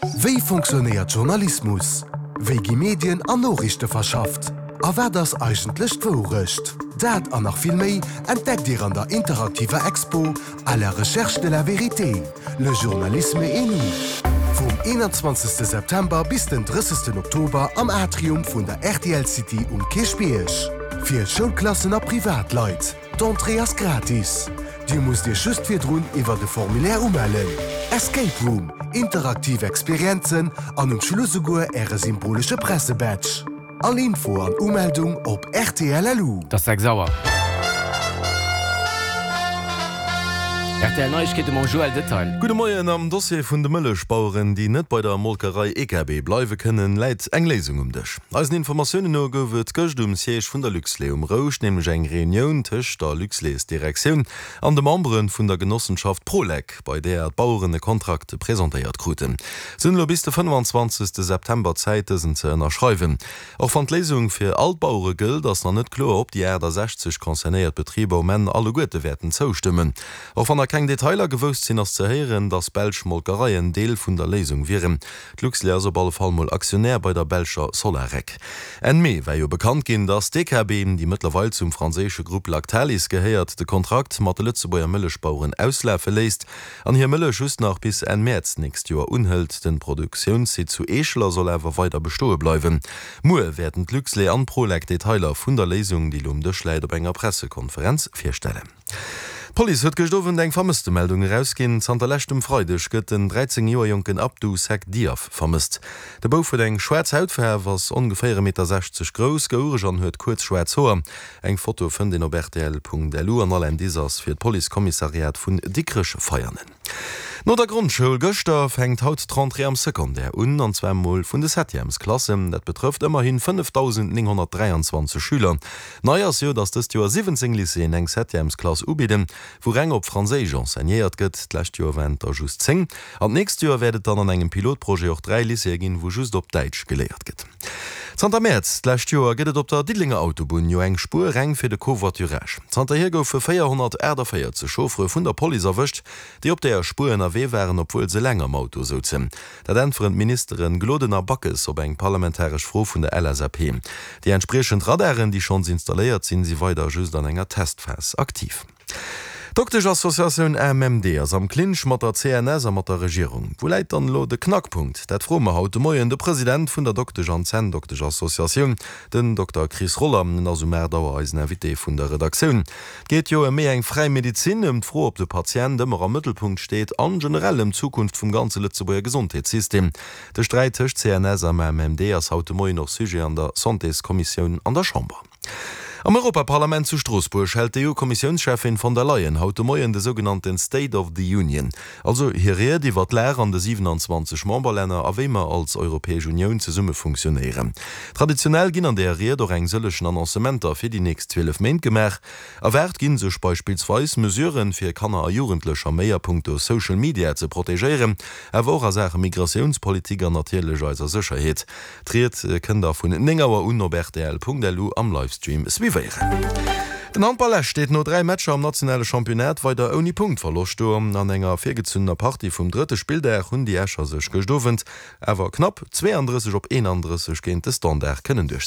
Wéi fonctionnéiert Journalismus? Wéi gi Medien an Noriichte verschafft? A wat ass eigentlech d'Wourecht? Dat an nach vill méi entdeckt Dir an der interaktiver Expo À la recherche de la vérité, le journalisme et nous vum 21 September bis den 30 Oktober am Atrium vun der rtl City um Kierchbierg. Fir Schoulklassen a Privatleit. D'Entrée ass gratis. Dir musst Iech just virdrun iwwert e Formulaire umellen. Escape Room, interaktiv Experienzen an um Schluss esouguer Äre symbolesche Pressebadge. All Info an Umeldung op rtl.lu. Et ass 6 Auer. Rtl Neiegkeete mam Joël Detail. Gudde Moien, Am Dossier vun de Mëllechbaueren, déi net bei der Molkerei EKB bleiwe kënnen, läit eng Léisung um Dësch. Eisen Informatiounen no gouf et gëscht um Siège vun der Luxlait um Rouscht nämlech eng Reunioun tëscht der Luxlait-Direktioun an de Membere vun der Genossenschaft Prolec, bei där d'Baueren e Kontrakt presentéiert kruten. Se hunn elo bis de 25 September Zäit, dësen ze ënnerschreiwen. Och wann d'Léisung fir all d'Bauere gëllt, ass nach net kloer, ob déi 68 concernéiert Betriber um Enn alleguerte wäerten zoustëmmen. Och wann nach keng Detailer gewousst sinn, ass ze héieren, datt belsch Molkereien Deel vun der Léisung wieren. D'Luxlait ass op alle Fall mol Aktionär bei der belscher Solarec. Enn Mee war jo bekannt ginn, datt d'EKB, déi mëttlerweil zum franséische Grupp Lactalis gehéiert, de Kontrakt mat de Lëtzebuerger Mëllechbaueren auslafe léisst an hir Mëllech just nach bis Enn Mäerz d'nächst Joer unhëlt. Den Produktiounssite zu Eescheler soll awer weider bestoe bleiwen. Muer wäerten d'Luxlait an d'Prolec Detailer vun der Léisung, déi elo um Dësch läit, op enger Pressekonferenz virstellen. D'Police huet gëscht Owend eng Vermësstemeldung erausginn. Zanter leschtem Freideg gëtt den 13 Joer jonken Abdou Seck Diaf vermësst. De Bouf huet eng schwaarz Hautfaarf, ass ongeféier 1,60 Meter grouss, gouereg an huet kuerz schwaarz Hoer. Eng Foto fënnt een op rtl.lu an all Indice ass fir d'Policekommissariat vun Dikrech-Veianen. No der Grondschoul gëschter fänkt haut d'Rentrée am Secondaire un, an zwar mol vun de Septièmesklassen. Dat betrëfft ëmmerhi 5.923 Schüler. Nei ass jo, datt dëst Joer 17 Lycéeën eng Septièmesklass ubidden, wou reng op Franséisch enseignéiert gëtt. D'lescht Joer waren et der just 10. An d'nächst Joer wäert et dann an engem Pilotprojet och 3 Lycéeë ginn, wou just op Däitsch geléiert gëtt. Zanter Mäerz d'lescht Joer gëtt et op der Diddelenger Autobunn jo eng Spuer reng fir de Covoiturage. Zanterhier goufe 448 Chauffere vun der Police erwëscht, déi op där Spuer ënnerwee waren, obwuel se eleng am Auto souzen. Dat äntweren d'Ministere Gloden a Backes op eng parlamentaresch Fro vun der LSAP. Déi entspriechend Radaren, déi schonns installéiert sinn, si weider just an enger Testphas aktiv. D'Doktesch-Associatioun AMMD ass am Clinch mat der CNS a mat der Regierung. Wou läit dann elo de Knackpunkt? Dat froe mer haut de Moien de President vun der Doktesch an Zänndoktesch-Associatioun, den Dokter Chris Roller. En ass um 8 Auer eisen Invité vun der Redaktioun. Et geet jo ëm méi eng fräi Medezin, ëm d'Fro, ob de Patient ëmmer am Mëttelpunkt steet an generell ëm d'Zukunft vum ganze Lëtzebuerger Gesondheetssystem. De Sträit tëscht CNS a AMMD ass haut de Moien och Sujet an der Santéskommissioun an der Chamber. Am Europaparlament zu Stroossbuerg hält d'EU-Kommissiounscheffin von der Leyen haut de Moien de sougenannten State of the Union, also hir Ried iwwer d'Lag an de 27 Memberlänner a wéi mer als Europäesch Unioun zesumme funktionéieren. Traditionell ginn an där Ried och eng sëllegen Annoncementer fir déi nächst 12 Méint gemaach. Erwaart gi sech beispillsweis Mesuren, fir Kanner a Jugendlecher méi a punkto Social Media ze protegéieren, awer och a Saache Migratiounspolitik an natierlech eiser Sécherheet. D'Ried kënnt der vun 9 Auer un op rtl.lu am Livestream suivéieren. Den Handball Esch steet no 3 Matcher am nationale Championnat weider ouni Punktverloscht do. An enger virgezunnener Partie vum drëtte Spilldag hunn déi Escher sech gëscht Owend awer knapp 32 op 31 géint de Standard kënnen duerchsetzen.